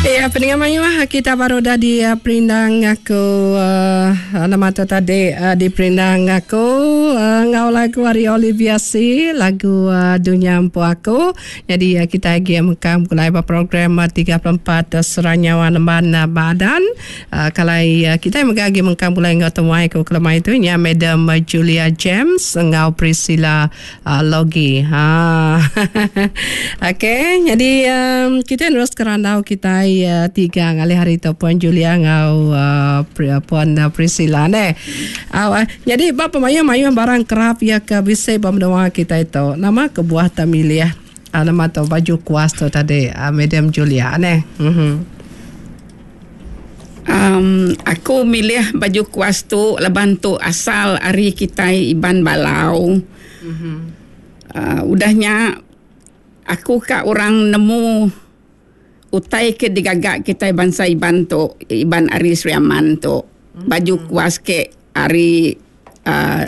Ya, peninga mayuh kita baru dah di eh, perindang aku uh, nama tu tadi uh, di perindang aku uh, ngau lagu ari Olivia C lagu uh, Dunya Empu Aku. Jadi uh, kita agi mengkang begulai ba program uh, 34 uh, Seranyawa Nemban uh, Badan. Uh, kalai uh, kita mega agi mengkang begulai enggau temuai ku kelemai tu nya Madam Julia James enggau Priscilla Logi. Ha. Okey, jadi um, kita terus ke randau kita uh, tiga ngalih hari tu Puan Julia enggau uh, Puan uh, Priscilla ne. Uh, jadi ba pemayuh-mayuh barang kerap ya ke bisi ba menua kita itu. Nama kebuah tak milih uh, nama tu baju kuas tu tadi uh, Madam Julia ne. Mhm. Um, aku milih baju kuas tu laban tu asal ari kitai Iban Balau. Mm-hmm. Uh, udah nya aku ka orang nemu utai ke digaga kitai bansa Iban tu, Iban ari Sri Aman tu. Mm-hmm. Baju kuas ke ari uh,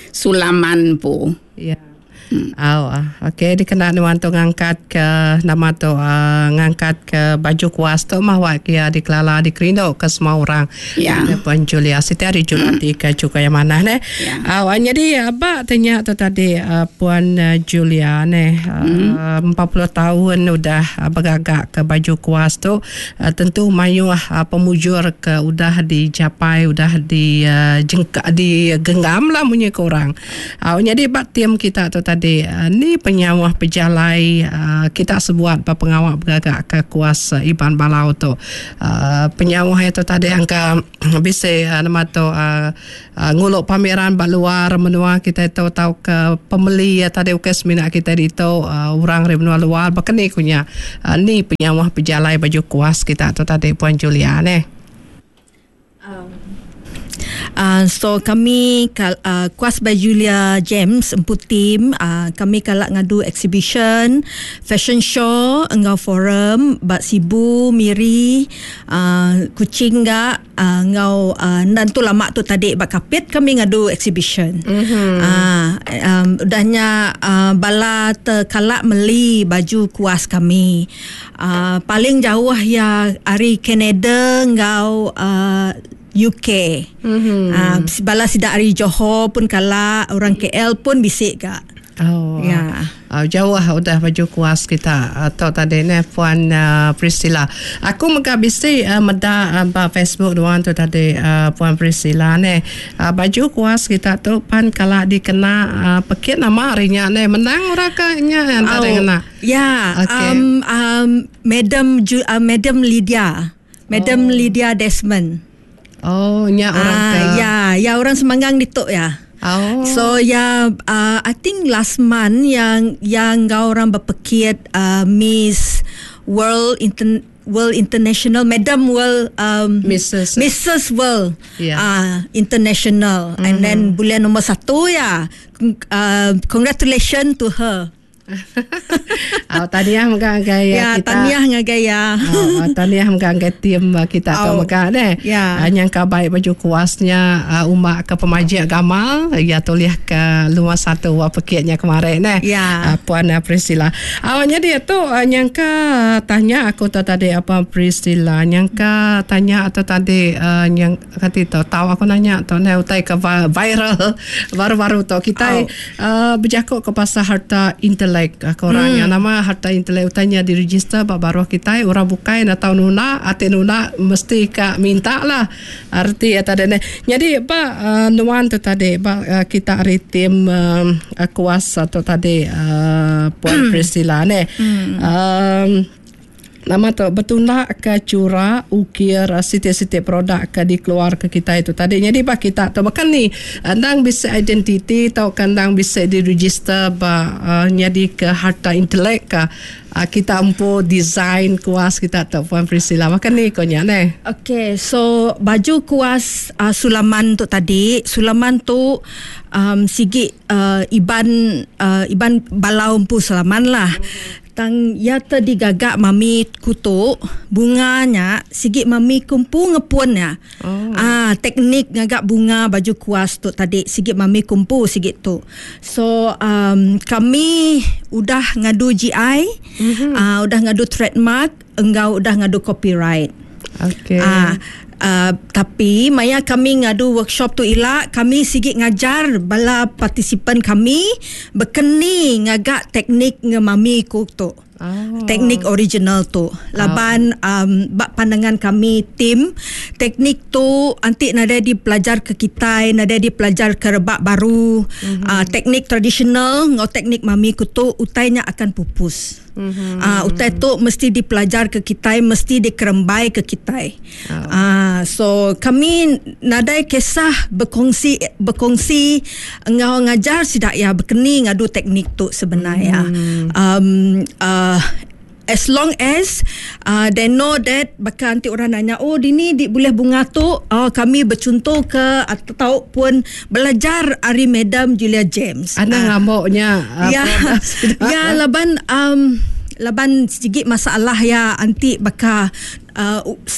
Sulaman pu. Ya. Yeah. Hmm. Au, ah. Okey, dikena nuan tu ngangkat ke nama tu uh, ngangkat ke baju kuas tu mah wak kia dikelala dikerindu ke semua orang. Ya. Yeah. Puan Julia Siti hari Jumat hmm. ke juga yang mana ne. Ya. Au, ah, jadi aba tanya tu tadi uh, Puan Julia ne uh, hmm. 40 tahun udah uh, bergagak ke baju kuas tu uh, tentu mayuh uh, pemujur ke udah dicapai udah di uh, jengka digenggam lah munyi ke orang. Au nyadi ba tim kita tu tadi ni penyauh pejalai kita sebuat ba pengawa begaga ke kuas Iban Balau tu. Penyauh iya tu tadi angka bisi nama tu ngulu pameran ba luar menua kitai tu tauka pemeli iya tadi ukai semina kitai ditu orang ari menua luar baka ni ku nya ni penyauh pejalai baju kuas kita tu tadi Puan Julia neh. Uh, so kami uh, kuas by Julia James empu team uh, kami kala ngadu exhibition fashion show enggau forum ba Sibu Miri uh, Kuching ga uh, enggau uh, enda tu lama tu tadi ba Kapit kami ngadu exhibition mm-hmm. uh, um, udahnya uh, bala te kala meli baju kuas kami Uh, paling jauh ya ari Canada enggau uh, UK. Mm-hmm. Uh, bala sida ari Johor pun kala orang KL pun bisi ga. Oh. Ya. Uh, jauh udah baju kuas kita atau tadi ne Puan uh, Priscilla. Aku mega bisi uh, meda uh, ba Facebook duan tu tadi uh, Puan Priscilla ne. Uh, baju kuas kita tu pan kala dikena uh, pekit nama hari nya ne menang orang ke nya antara oh. ngena. Ya, Okay. um, um, Madam Ju, uh, Madam Lydia. Madam oh. Lydia Desmond. Oh, nya orang ah, ke. Ya, ya orang Semanggang ditu ya. Oh. So ya, I think last month yang yang kau orang berpekit Miss World Inter World International Madam World um, Mrs. Mrs. World Yeah. International mm-hmm. and then bulan nombor satu ya. Congratulations to her. Oh, tahniah mega ngagai Ya, kita. tahniah ngagai ya. Oh, tahniah mega ngagai tim kita tu Oh. mega deh. Ya. Nyangka baik baju kuasnya umak ke pemajik gamal ya tulis ke luar satu wa pekitnya kemarin deh. Ya. Puan Priscilla. Awalnya dia tu nyangka tanya aku tu tadi apa Priscilla nyangka tanya atau tadi uh, yang kata tu tahu aku nanya tu ne utai ke viral baru-baru tu kita oh. Berjakuk ke pasal harta intelek ke orang yang nama harta intelek utanya diregister ba baruh kita orang bukai nak tahu nuna ati nuna mesti ka minta lah arti ya tadi ne. Jadi ba uh, nuan tu tadi ba uh, kita ari tim uh, kuasa tu tadi uh, Puan Priscilla ne. Um, nama tu bertunda ke cura ukir sitik-sitik produk ke dikeluar ke kita itu tadi. Jadi ba kita tu bahkan ni endang bisa identiti atau kandang bisa diregister ba uh, jadi ke harta intelek ke uh, kita empu design kuas kita tu Puan Priscilla. Bahkan ni konya ne. Okay, so baju kuas sulaman tu tadi, sulaman tu um, sigi Iban uh, Iban Balau empu sulaman lah. Tang ya te digaga mami ku tu bunga nya sigi mami ku empu ngepun ya. Oh. Ah teknik ngaga bunga baju kuas tu tadi sigi mami ku empu sigi tu. So um, kami udah ngadu GI, mm-hmm. uh, udah ngadu trademark enggau udah ngadu copyright. Okay. Ah uh, tapi maya kami ngadu workshop tu ila kami sigi ngajar bala partisipan kami bekeni ngaga teknik ngemami ku tu. Oh. Teknik original tu. Laban um, bak pandangan kami tim teknik tu anti nadai dipelajar ke kitai, nadai dipelajar ke rebak baru. Mm-hmm. Teknik tradisional ngau teknik mami ku tu utainya akan pupus. Mm-hmm. Utai tu mesti dipelajar ke kitai, mesti dikerembai ke kitai. Oh. So kami nadai kisah berkongsi berkongsi engau ngajar sidak ya bekeni ngadu teknik tu sebenarnya. Mm. As long as they know that bakal nanti orang nanya oh dini di boleh bunga tu oh, kami bercontoh ke ataupun belajar ari Madam Julia James. Ana ngamuknya Ya ya laban laban sedikit masalah ya anti bakal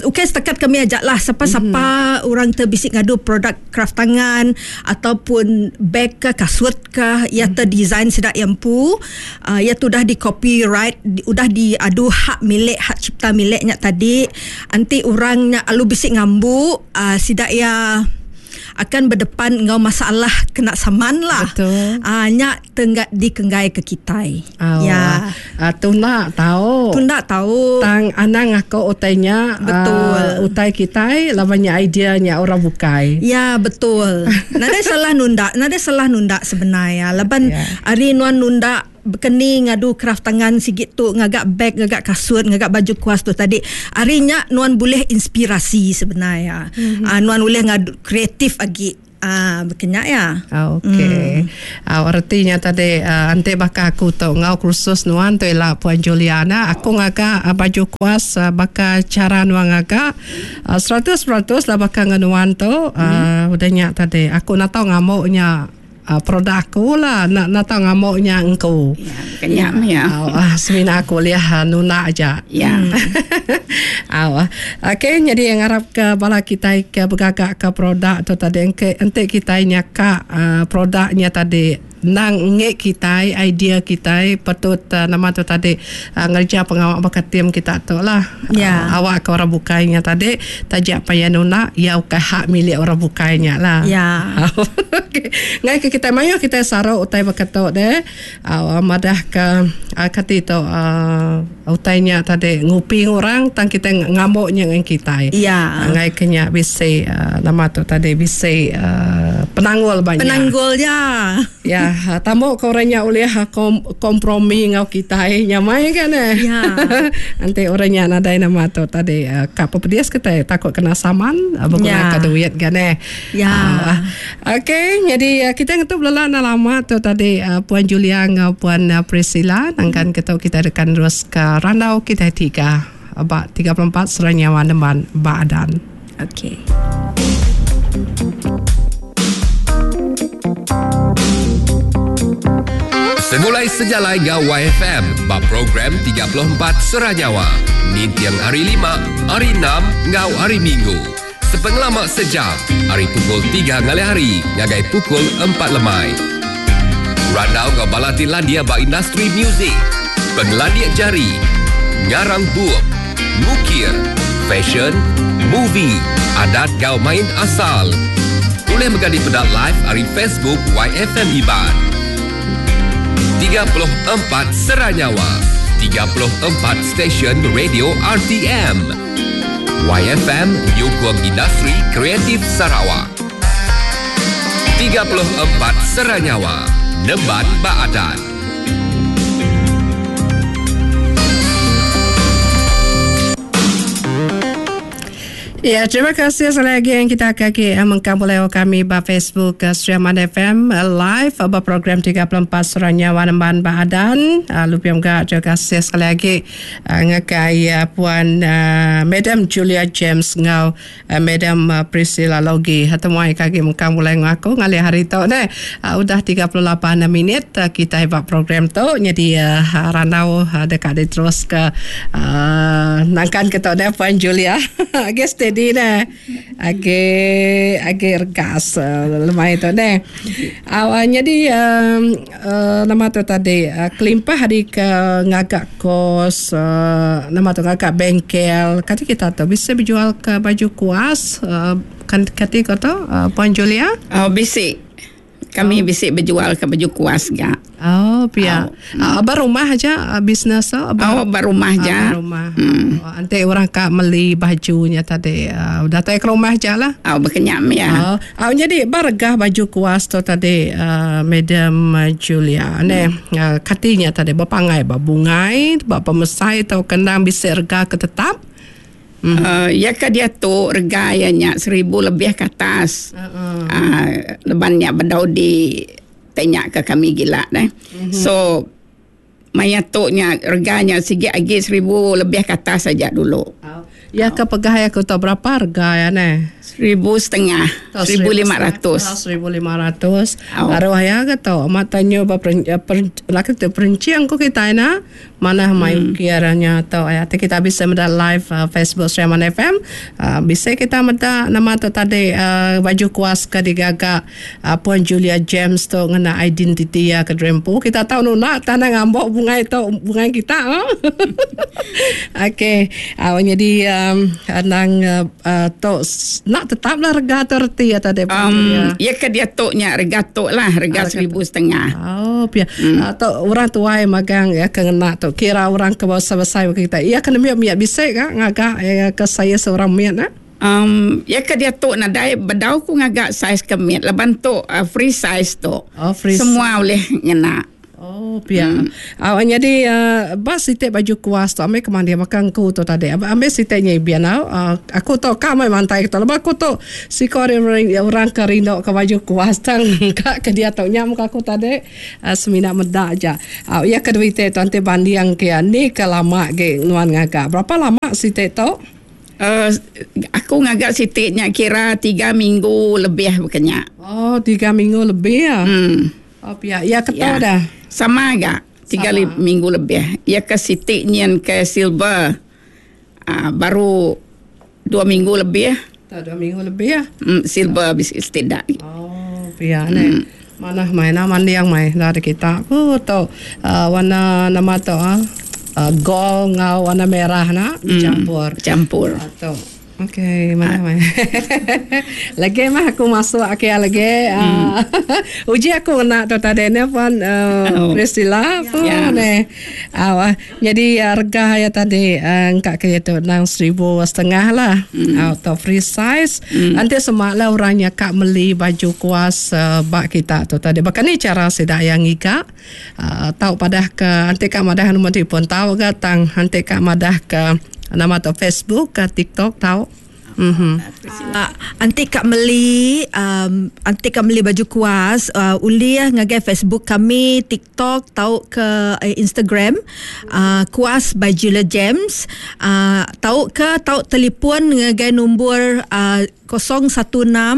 okey setakat kami ajak lah siapa-siapa orang terbisik ngadu produk kraft tangan ataupun bag ke kasut ke ya terdesign sedak yang pu ya tu dah di copyright di, udah diadu hak milik hak cipta miliknya tadi anti orangnya alu bisik ngambu sidak ya akan berdepan ngau masalah kena saman lah. Betul. Nyak tenggak dikenggai ke kitai. Oh, Ya. Tunda tahu. Tunda tahu. Tang anang aku utainya. Betul. Utai kitai lawannya ideanya orang bukai. Ya betul. Nada salah nunda, nada salah nunda sebenarnya. Laban Ya. ari nuan nunda bekeni ngadu kraft tangan sigit tu ngagak bag, ngagak kasut, ngagak baju kuas tu tadi. Arinya nuan boleh inspirasi sebenarnya. Mm-hmm. Nuan boleh ngadu kreatif lagi. Bekenya ya. Okey. Artinya tadi ante baka aku tu ngau kursus nuan tu ialah Puan Juliana, aku ngagak baju kuas baka cara nuan ngagak 100% lah baka nuan tu udah nyak tadi aku nak tahu ngamuknya produk aku lah nak tahu ngamuknya engkau. Ya, kenyam ya. Semina aku liah nuna aja. Ya. Okey, jadi yang harap ke bala kita ke bergagak ke produk tu tadi ente kita nyaka produknya tadi nang ngek kita idea kita patut nama tu tadi ngerja pengawak bakat tim kita tu lah. Ya. Awak ke orang bukainya tadi tajak payah nuna ya ke hak milik orang bukainya lah. Ya. Okey. Ngai ke kita mayu kita sarau utai bakat tu deh. Madah ke kati tu utainya tadi ngupi orang tang kita ngamuknya dengan kita. Ya. Ngai kenya bisi nama tu tadi bisi penanggul banyak. Penanggul ya. Ya, tamu ke orangnya oleh kompromi ngau kita nyamai kan eh. Ya. Nanti orangnya nadai nama tu tadi kap pedias kita takut kena saman berguna Ya. duit kan eh. Ya. Okey, jadi kita ngetu belala na lama tu tadi Puan Julia ngau Puan Priscilla nangkan kita kita dekan terus ke randau kita tiga bak 34 seranyawa neman baadan. Okey. Semulai sejalai ngau YFM bab program 34 Seranyawa. Nintiang hari 5, hari 6 ngau hari Minggu. Sepengelamak sejam, hari pukul 3 ngalih hari ngagai pukul 4 lemai. Randau ngau balati landia ba industri muzik, penglandia jari, ngarang bup, mukir, fashion, movie, adat gau main asal. Boleh mengganti pedak live hari Facebook YFM Iban. 34 Seranyawa, 34 Stesen Radio RTM. YFM Nyukung Industri Kreatif Sarawak. 34 Seranyawa, Nemban Baadan. Ya, terima kasih sekali lagi yang kita kaki mengkang boleh kami ba Facebook Sri Aman FM live ba program 34 Surah Nyawa Nemban Bahadan. Lalu pia mega terima kasih sekali lagi ngagai Puan Madam Julia James enggau Madam Priscilla Logi temuai ke agi mengkang bulai enggau aku ngalih hari tu neh. Udah 38 minit kitai ba program tu nyadi randau deka diteruska nangkan ke tu neh Puan Julia. Agi steady neh. Agi agi regas lemai tu neh. Nyadi nama tu tadi kelimpah ari ke ngaga kos nama tu ngaga bengkel kati kita tu bisi bejual ke baju kuas kati ko tu Puan Julia? Oh bisi. Kami bisi bejual ke baju kuas ga. Oh pia. Oh. Ba rumah aja bisnes tu? Oh ba rumah aja. Ba rumah. Hmm. Oh, enti orang ka meli baju nya tadi uh, datai ke rumah aja lah. Oh bekenyam ya. Oh, oh jadi ba regah baju kuas tu tadi uh, Madam Julia ne hmm. uh, katinya tadi bepangai ba bungai ba pemesai tau kendang bisi rega ke tetap. Mm. Iya ke diatu rega iya nya seribu lebih ke atas. Uh-uh. Leban nya bedau di tanya ke kami gila deh. Mm-hmm. So maya tu nya rega nya sigi agi seribu lebih ke atas aja dulu. Oh. Ya ke pegah aku tu berapa rega ya ne? 1500. 1500. 1500. Aruh ya ke tu mata nyu ba laki tu perencing ku kita ina. Manah mai ukir nya tu aya ti kita bisi meda live Facebook Sri Aman FM bisi kita meda nama tu tadi baju kuas ke digaga Puan Julia James tu ngena identiti iya ke diri empu kita tau nunda tanah ngambo bungai tu bungai kita okey nyadi anang tu enda tetap lah rega tu reti iya tadi Puan Julia. Iya ke diatu nya rega tu lah rega 1500. Oh pia. Tu orang tuai magang iya ke ngena tu kira orang ke besai-besai baka kitai. Iya ke nembiak mit bisi ka ngaga iya ke saiz orang mit ne? Um iya ke diatu nadai bedau ku ngaga saiz ke mit laban tu free size tu. Oh free size. Semua ulih ngena. Oh pia. Hmm. Au nyadi ba siti baju kuas tu ambi ke mandi baka engku tu tadi. Ambi siti nyibin au. Aku tu ka mai mantai tu laban aku tu siko ari orang ke rindu ke baju kuas tang ka ke diatu nya muka aku tadi semina meda aja. Au iya ke dua iti tu enti banding ke iya ni ke lama agi nuan ngaga. Berapa lama siti tu? Aku ngaga siti nya kira tiga minggu lebih baka nya. Oh tiga minggu lebih. Hmm. Oh pia, iya ketu ya. dah. Sama ga, tiga li, minggu lebih. Iya ke siti nyin ke silver. Uh, baru dua minggu lebih. Tak dua minggu lebih ya. Silver bisi setidak. Oh, pia ne. Manah mai nah mandiang mai dari kita. Ku tu uh, warna nama tu ah. Uh, gold ngau warna merah na campur. Campur. Tu. Okey, manah meh. Lagi mah aku masuk ake lagi. Hmm. Uji aku ngena tu tadi ne puan uh, oh. Priscilla pun yeah. ne. Aw, jadi harga ya tadi engka ke tu nang 1500 lah. Hmm. Atau free size. Hmm. Nanti semaklah orangnya kak meli baju kuas uh, bak kita tu tadi. Bahkan ni cara sida yang ngiga uh, tau padah ke anti kak madah nombor telefon tau ke tang anti kak madah ke Nama tu Facebook ke TikTok tau. Mm-hmm. Anti kak meli um, anti kak meli baju kuas uh, ulih ngagai Facebook kami, TikTok tau ke uh, Instagram uh, kuas by Julia James uh, tau ke tau telefon ngagai nombor uh, 016 uh,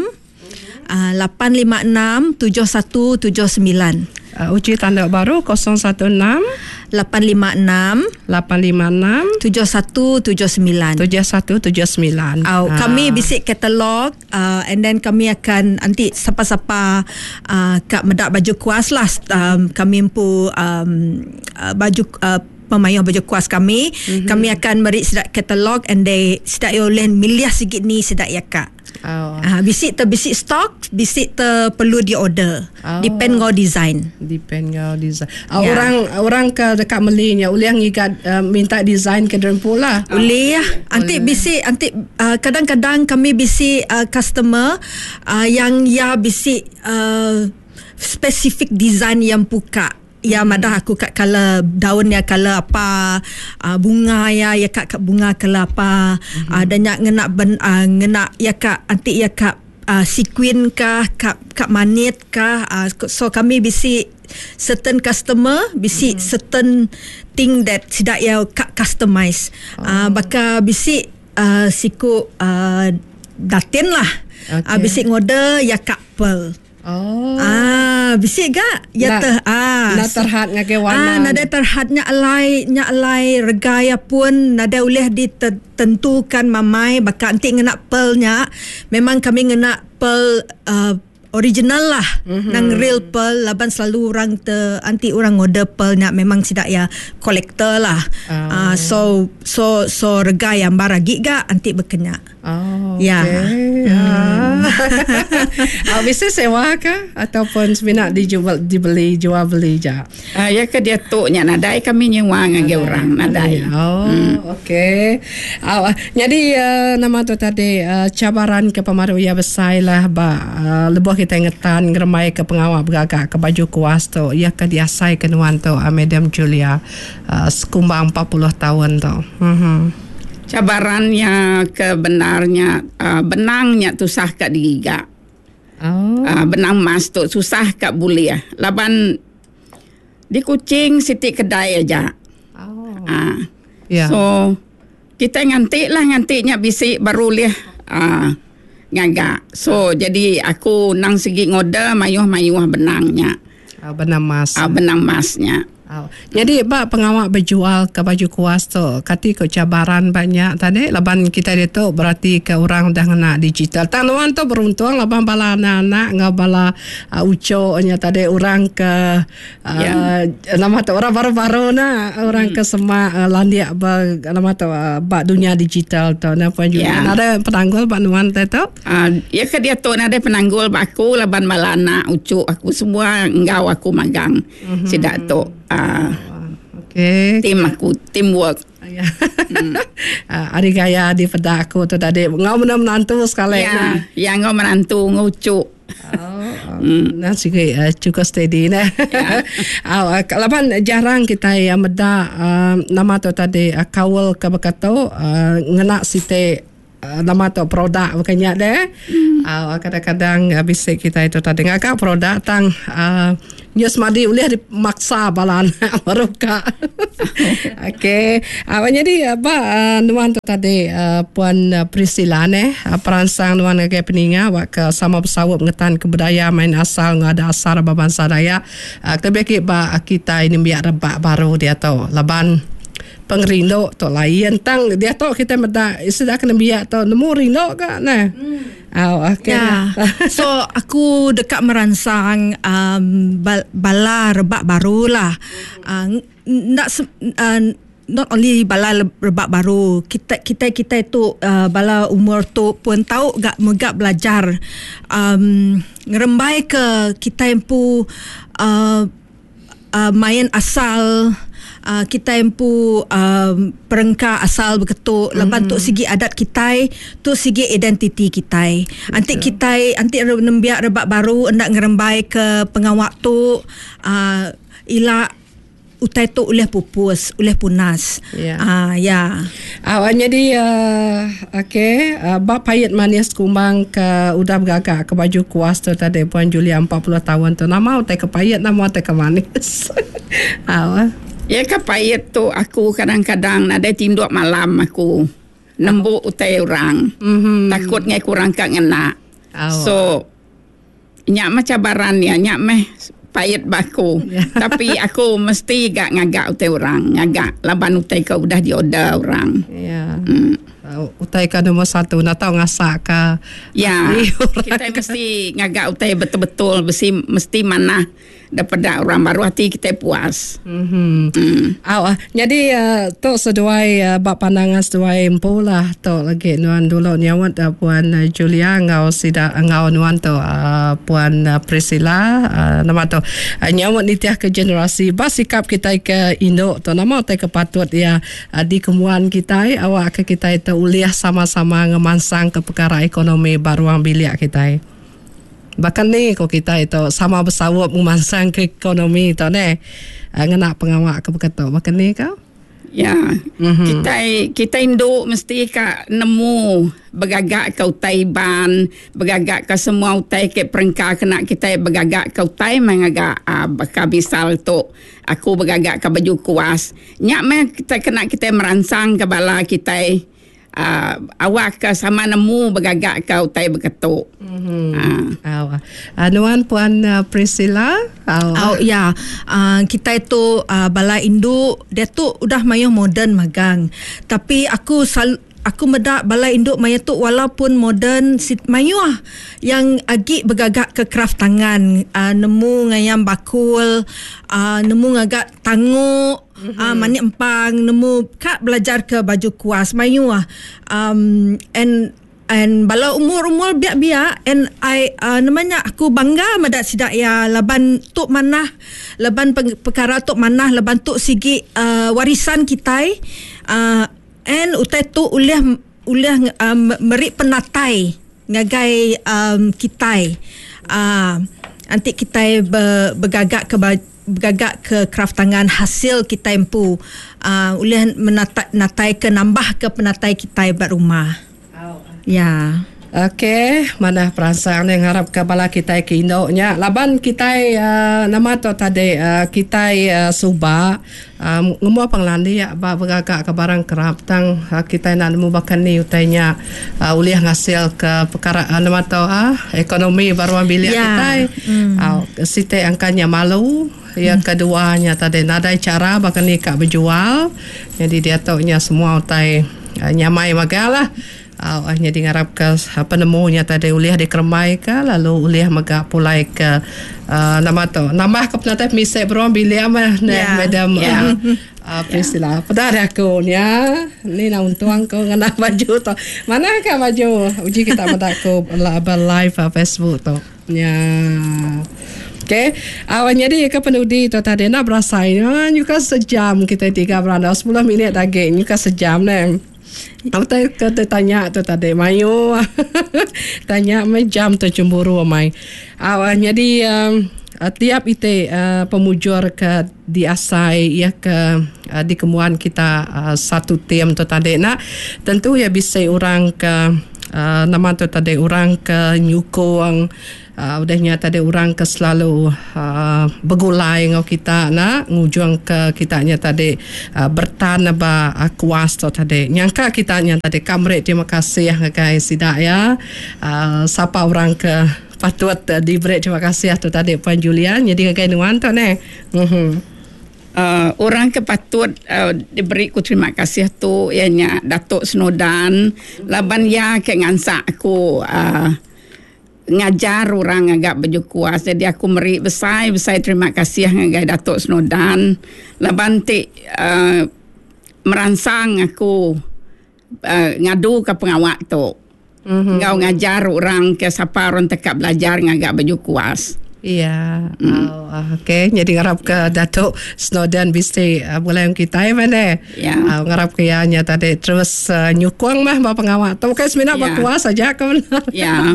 856 7179. Uji tanda baru 016 856 856 7179 7179. Oh, ha. Kami bisik katalog uh, and then kami akan nanti siapa-siapa uh, kat medak baju kuas lah um, kami empu um, uh, baju uh, pemayuh baju kuas kami. Mm-hmm. Kami akan meri sedak katalog and they sedak oleh milih sikit ni sedak ya kak. Oh. Bisik ter bisik stok, bisik ter perlu di order. Oh. Depend ngau design. Depend ngau design. Oh, Ya. Orang orang ke dekat melinya ulih ngigat uh, minta design ke derempu lah. Boleh ya. Anti bisik anti uh, kadang-kadang kami bisik uh, customer uh, yang ya bisik uh, specific design yang buka. Iya madah aku ka color daun iya color apa uh, bunga iya iya ka ka bunga color apa mm-hmm. uh, dan nya ngena ben, uh, ngena iya ka anti iya ka uh, sequin kah ka ka manit kah uh, so kami bisi certain customer bisi mm-hmm. certain thing that sida iya ka customize oh. uh, baka bisi uh, siku uh, datin lah okay. uh, bisi ngorder iya ka pearl. Oh. Ah, bisi ga ya teh ah. Enda terhad ngagai warna. Ah, nadai terhad nya alai nya alai rega iya pun nadai ulih ditentukan mamai baka enti ngena pearl nya memang kami ngena pearl uh, original lah mm-hmm. nang real pearl laban selalu orang te anti orang order pearl nya memang sida ya collector lah. Oh. Uh, so so so rega iya ambar agi ga anti bekenya. Oh, Ya. Okay. Hmm. Ah, bisa sewa ke ataupun semina dijual dibeli jual beli ja? Ah, ya ke diatu nya nadai kami nyewa ngagai orang nadai. Oh, hmm. okey. Ah, jadi uh, nama tu tadi uh, cabaran ke pemaru ia besai lah ba uh, lebuh kita ngetan ngeremai ke pengawa bergagak ke baju kuas tu ia ke diasai ke nuan tu uh, Madam Julia uh, sekumbang 40 tahun tu. Mhm. Cabaran nya ke bendar nya benang nya tusah ka digiga. Oh. Benang emas tu susah ka bulih laban di Kuching siti kedai aja. Oh. Yeah. So kitai nganti lah nganti nya bisi baru ulih ngaga. So jadi aku nang sigi ngorder mayuh-mayuh benang nya. Benang emas. Benang emas nya. Au. Nyadi ba pengawa bejual ke baju kuas tu, kati ku cabaran ba nya tadi laban kitai ditu beratika orang udah ngena digital. Tang nuan tu beruntung laban bala anak-anak enggau bala uhh uchu nya tadi orang ke uhh nama tu orang baru-baru ne orang ke semak landik ba nama tu ba dunya digital tu. Nah puan Julia nadai penanggul ba nuan te tu. Iya ke diatu nadai penanggul ba aku laban bala anak uchu aku semua enggau aku magang. Mm-hmm. Sida tu uh, okay. team aku, teamwork. Ya. Mm. Ari gaya di peda aku tu tadi ngau mena menantu sekali. Ya, ya ngau menantu ngucu. Oh, mm. Nah, sigi uh, cukup steady nah. Ya. Uh, laban jarang kita yang meda uh, nama tu tadi uh, kaul ke bekatu uh, ngena siti Nama tu produk bukan nya deh. Hmm. Kadang-kadang bisi kita itu tadi ngaga produk tang nyu semadi ulih dimaksa bala anak baru ka. Okey. Jadi ba nuan tu tadi Puan Priscilla neh peransang nuan ngagai peninga wak ke sama besaup ngetan ke budaya main asal enggau adat asal ba bansa Dayak. Kelebih agi ba kitai nembiak rebak baru diatu laban Pengerindu tu lain tang diatu kitai meda sida ke nembiak tu nemu rindu ka neh. Au okey. Ya. So aku deka meransang um, bala rebak baru lah. Uh, enda uh, not only bala rebak baru kita kita kita tu uh, bala umur tu pun tau ga mega belajar um, ngerembai ke kita empu uh, uh, main asal uh, kitai empu uh, perengka asal beketu laban mm-hmm. tu sigi adat kitai tu sigi identiti kitai anti kitai anti nembiak rebak baru enda ngerembai ke pengawa tu uh, ila utai tu ulih pupus ulih punas Ya. uh, ya Awak jadi uh, okey uh, ba pait manis kumbang ke udah begaga ke baju kuas tu tadi Puan Julia 40 tahun tu nama utai ke pait nama utai ke manis. Au. Ya ke pait tu aku kadang-kadang nadai tinduk malam aku nembu utai orang. Mm-hmm. Takut ngai kurang ka ngena. Au. So Nya meh cabaran iya, nya meh pait ba aku. Tapi aku mesti ga ngaga utai orang, ngaga laban utai ke udah diorder orang. Ya. Utai ke nombor satu enda tau ngasak ka. Ya. Kitai mesti ngaga utai betul-betul, mesti mesti manah. Daripada orang baru ati kitai puas. Mm-hmm. Mm. Au ah. Nyadi uh, tu seduai uh, ba pandangan seduai empu lah tu lagi nuan dulu nyaut uh, puan Julia enggau sida enggau nuan tu uh, puan Priscilla uh, nama tu uh, nyaut nitih ke generasi ba sikap kitai ke indu tu nama utai ke patut iya uh, dikembuan kitai awak ke kitai tu ulih sama-sama ngemansang ke perkara ekonomi ba ruang bilik kitai. Baka ni ko kitai tu sama besaup ngemansangka ekonomi tu neh ngena pengawa ke baka tu. Baka ni ka? Ya. Mm-hmm. Kitai kitai indu mesti ka nemu begaga ke utai Iban, begaga ke semua utai ke perengka kena kitai begaga ke utai meh ngaga uh, baka misal tu aku begaga ke baju kuas. Nya meh kita kena kitai meransang ke bala kitai uh, awak ke sama nemu begaga ke utai beketu. Mm-hmm. Uh. Uh, nuan puan uh, Priscilla? Oh, oh ya. Uh, kita itu uh, bala indu dia tu udah mayuh moden magang. Tapi aku sal aku meda bala indu maya tu walaupun moden mayuh yang agi begagak ke craft tangan uh, nemu ngayam bakul uh, nemu ngagak tanguk Mm-hmm. Manik empang nemu ka belajar ke baju kuas mayuh um, and and bala umur-umur biak-biak and I uh, namanya aku bangga meda sida ya laban tu manah laban perkara tu manah laban tu sigi uh, warisan kitai uh, and utai tu ulih ulih um, meri penatai ngagai um, kitai uh, anti kitai be, begagak ke begaga ke kraf tangan hasil kitai empu uh, ulih menatai natai ke nambah ke penatai kitai ba rumah. Ya. Okey, manah peransang ni ngarap ke bala kitai ke indu nya laban kitai uh, nama tu tadi uh, kitai uh, suba uh, ngemua pengelandik ba begaga ke barang kerap tang uh, kitai nak nemu baka ni utai nya uh, ulih ngasil ke perkara uh, nama tu uh, ekonomi ba ruang bilik yeah. kitai. Mm. Uh, siti angka nya malu, yang mm. kedua nya tadi nadai cara baka ni ka bejual. Jadi dia tu nya semua utai uh, nyamai magalah. Au nyadi ngarap ke penemu nya tadi ulih dikerembai ke lalu ulih mega pulai ke uh, nama tu nambah ke penatai pemisi beruang bilik meh neh yeah. madam yeah. Uh, Priscilla. Yeah. Peda ari aku nya ni nak untung aku ngena baju tu. Mana ka baju? Uji kita meda aku live Facebook tu. Nya. Okey. Aw nyadi ke penudi tu tadi nak berasai nyuka sejam kita tiga berandau 10 minit lagi nyuka sejam neh. Utai ke tanya tu tadi mayuh. Tanya meh jam tu cemburu amai. Au nyadi um, tiap iti uh, pemujur ke diasai ya ke uh, dikemuan kita uh, satu tim tu tadi nak tentu ya bisi orang ke uh, nama tu tadi orang ke nyukung Udah nya tadi orang ke selalu begulai enggau kita enda ngujung ke kita nya tadi beretan ba kuas tu tadi. Nyangka kita nya tadi ka meri terima kasih ngagai sida iya sapa orang ke patut diberi terima kasih tu tadi Puan Julia nyadi ngagai nuan tu neh. Uhh. Orang ke patut diberi ku terima kasih tu iya nya Datuk Snowdan laban iya ke ngansak aku uhh ngajar orang ngaga baju kuas. Jadi aku meri besai-besai terima kasih ngagai Datuk Snowdan laban ti uh, meransang aku uh, ngaduka pengawa tu. Mm-hmm. Enggau ngajar orang ke sapa orang tekak belajar ngaga baju kuas. Iya. Mm. Oh, okey. Jadi ngarap ke Datuk Snowdan bisi uh, bulai kita ya mana. Ya. Uh, ngarap ke iya nya tadi terus uh, nyukung mah ba pengawa tu. Bukan semina ya. berkuas saja ke benar. Ya.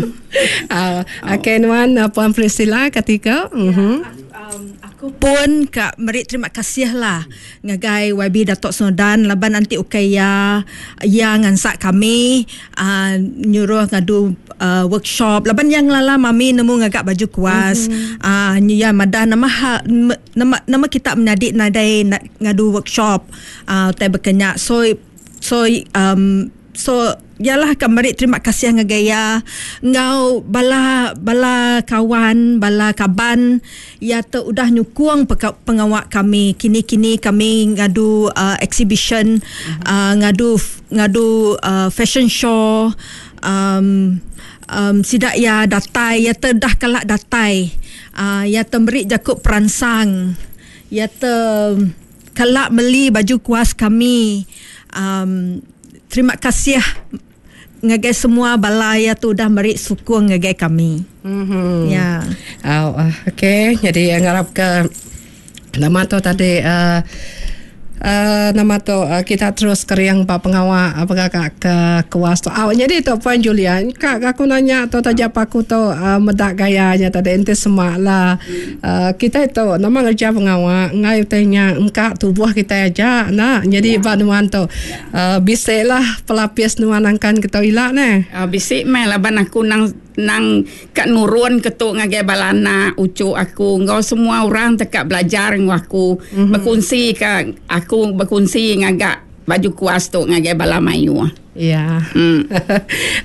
uh, okey nuan uh, Puan Priscilla ketika. Ya, mm-hmm. um, aku pun ka meri terima kasih lah ngagai YB Datuk Snowdan laban anti ukai iya iya ngansak kami uh, nyuruh ngadu uh, workshop laban yang lala mami nemu ngaga baju kuas mm-hmm. uh, ya madah nama ha, nama nama kita menyadi nadai ngadu workshop uh, tai bekenya so so um, so yalah ka meri terima kasih ngagai iya enggau bala bala kawan bala kaban iya tu udah nyukung pengawa kami kini-kini kami ngadu uh, exhibition mm-hmm. uh, ngadu ngadu uh, fashion show um, um, sida iya datai iya te dah kelak datai uh, iya te meri jaku peransang iya te kelak meli baju kuas kami um, terima kasih ngagai semua bala iya tu udah meri sukung ngagai kami. Mm-hmm. Ya. Oh, okey. Jadi ngarap ke nama tu tadi uh, Uh, nama tu uh, kita terus kering ba pengawa uh, pengaga ke kuas tu. Aw jadi tu Puan Julia, ka aku nanya tu taja pa aku tu uh, meda gaya nya tadi enti sema lah. Uh, kita tu nama ngerja pengawa ngai utai nya engka tubuh kita aja na. Jadi ba nuan tu uh, bisi lah pelapis nuan angkan ke tu ila neh. Uh, bisi meh laban aku nang nang ka nurun ke tu ngagai bala anak uchu aku enggau semua orang te ka belajar enggau aku mm-hmm. bekunsi ka aku bekunsi ngaga baju kuas tu ngagai bala mayuh. Ya. Mm.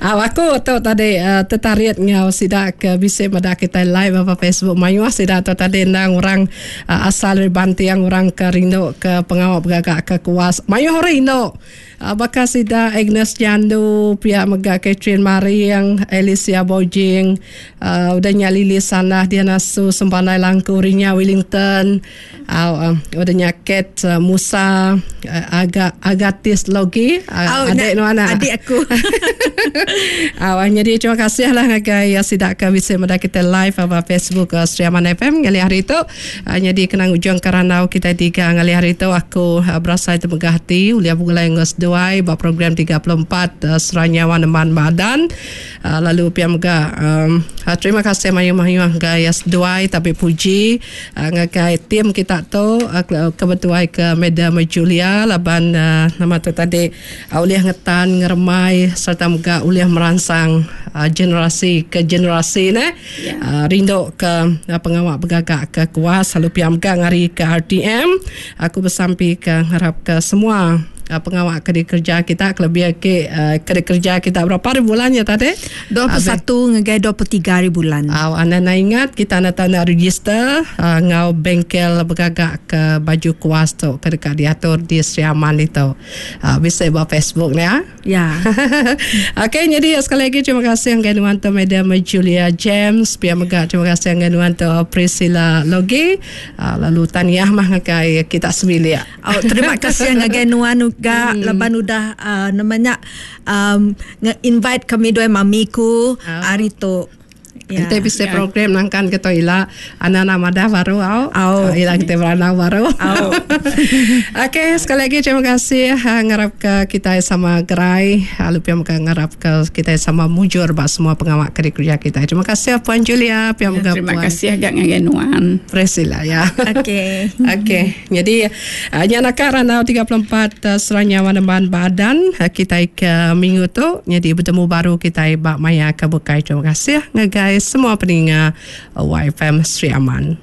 Aw aku tu tadi uh, tertarik ngau sida ke bisi meda kita live apa Facebook mayuh sida tu tadi endang orang uh, asal dari Bantiang orang ke rindu ke pengawa begagak ke kuas. Mayuh orang rindu. Baka sida Agnes Jandu, pia mega Catherine Maring, Alicia Bojing, udah nya Lily Sanah, Diana Su, Sempandai Langku, Rinya Wellington, udah nya Kate Musa, Aga Agatis Logi, adik nuan adik aku. Nyadi terima kasih lah ngagai sida ke bisi meda kita live ba Facebook Sri Aman FM ngalih hari tu. Nyadi kena ngujungka randau kitai tiga ngalih hari tu aku berasai temegah ati ulih begulai enggau seduai ba program 34 Sera Nyawa Nemban Badan lalu pia mega terima kasih mayuh-mayuh ngagai seduai tabi puji ngagai tim kita tu ke betuai ke Madam Julia laban nama tu tadi ulih ngetan ngeremai sereta mega ulih meransang generasi ke generasi neh. Rindu ke pengawa begaga ke kuas lalu pia mega ngari ke RTM aku besampi ke ngarap ke semua pengawa ke dikereja kita kelebih agi ke dikereja kita berapa hari bulan nya tadi? 21 ngagai 23 hari bulan. Au anda enda ingat kita enda tau enda register enggau bengkel begaga ke baju kuas tu ke deka diatur di Sri Aman ditu. Bisi ba Facebook nya. Ya. Okey, jadi sekali lagi terima kasih ngagai nuan tu Madam Julia James, pia mega terima kasih ngagai nuan tu Priscilla Logi, uh, lalu tahniah mah ngagai kita sebilik. Oh, terima kasih ngagai nuan juga hmm. laban udah uh, namanya um, invite kami dua mami ku oh. hari tu. Ya. Enti bisi ya. program nangkan ke tu ila anak-anak madah baru au. Au. Ila kita beranau baru. Au. Okey, sekali lagi terima kasih ha, ngarap ke kita sama gerai lalu pia mega ngarap ke kita sama mujur ba semua pengawa ke dikerja kita. Terima kasih Puan Julia, pia mega ya, Terima kasih agak ngagai nuan. Priscilla ya. Okey. Okey. Jadi nya naka randau 34 Serang Nyawa Nemban Badan kitai ke minggu tu. Nyadi betemu baru kitai ba maya ke bukai. Terima kasih ngagai semua peninga YFM Sri Aman.